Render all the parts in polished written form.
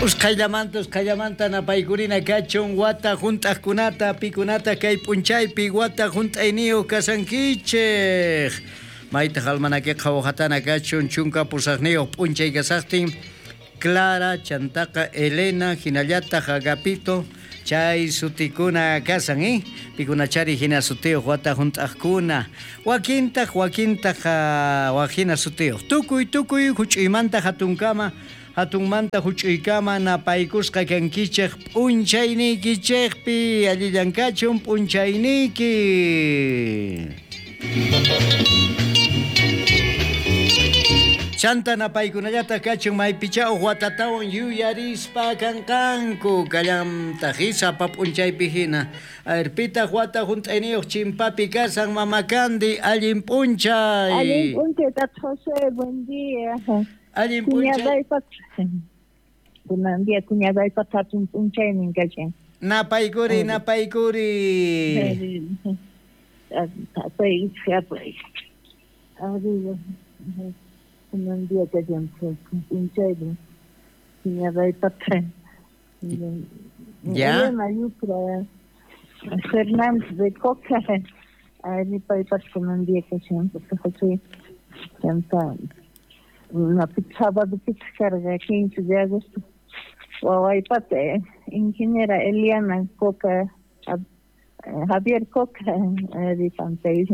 Usqhayllamanta, usqhayllamanta napaykurina kachun wata hunt'aqkunata, pikunata kay p'unchaypi wata hunt'ayniyuq kashankichej. Maytaq almanaqueqa waqatana kachun 18 p'unchay kasaqtin Clara, chantaqa Elena, hinallataq Agapito, chay sutikuna kasan, eh? Pikunachari hina sutiyuq wata hunt'aqkuna. Wakintaq, wakintaq wak hina sutiyuq. Tukuy, tukuy huch'uymanta hatunkama, hatunmanta huch'uykama napaykusqa kankichej p'unchayniykichejpi. Allillan kachun p'unchayniyki. Chanta napaykunallataq kachun maypichá uj watatawan yuyarispa kanqanku kallantaq sapa p'unchaypi hina. A ver, pitaq wata hunt'ayniyuq chimpapi kasan Mama Candy, allin p'unchay. Allin p'unchay, Tata José, buen día. Allin p'unchay. Kunan día cuñadaypata hatun p'unchaynin kashan. Napaykuri, napaykuri. Apay, apay. Arriba. Kunan día kashan p'unchaynin cuñadaypata. Ya. Elena Yucra Fernández de Coca. Ari paypata kunan día kashan, Tata José. Chanta sábado pita karqa 15 de agosto. Wawaypata ingeniera Eliana Coca, Javier Coca, ari pantay.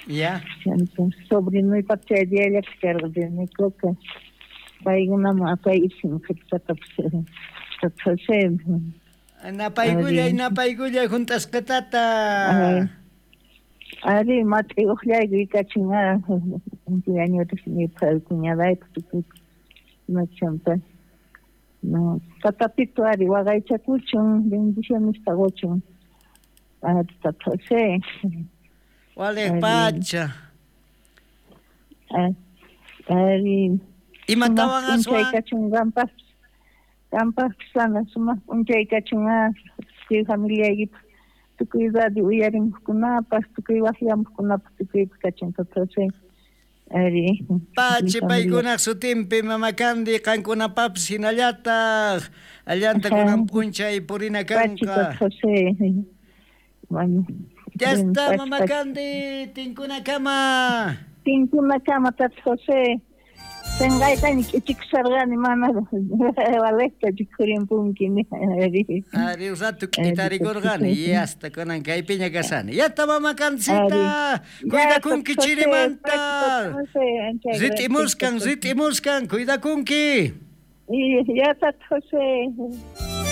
Ya. Chanta sobrinuypata chay diallata karqa René Coca. Paykunaman apaysin qhipatapis Tata José. Napaykullay, napaykullay hunt'asqatata. Ari mat'i uqllayku ikachin cumpleañosniypaq cuñadaypaq tukuypaq chanta no tatapito ari waqaychakuchun bendicionesta quchun Tata José. Waliq pacha. Ari Imatawan sumaq p'unchay aswan? kachun qampaqpis, qampaqpis sana sumaq p'unchay kachun tukuy familiaykipaq, tukuy radio uyarimuqkunapaq, tukuy waqyamuqkunapaq, tukuypaq kachun Tata José. Ari Pachi familia. paykunaq sutinpi Mama Candy qankunapapis hinallataq allanta kunan p'unchay purina Pachi Tata kanqa. José. Bueno, Ya bueno, está pachi, Mama pachi. Candy, tinkunakama. Tinkunakama Tata José. Senqaytaña k'ichikusharqani mana valekta rikhurimpunki ari. Ari un rato k'itarikurqani y hasta kunan kaypiña kasani. Ya está Mama Candicita, Ari. cuidakunki Ya, Tata José, chirimanta. pachi, Tata José, ancha gracias, Ritimuskan, Tata José. ritimuskan, cuidakunki. Y ya, Tata José.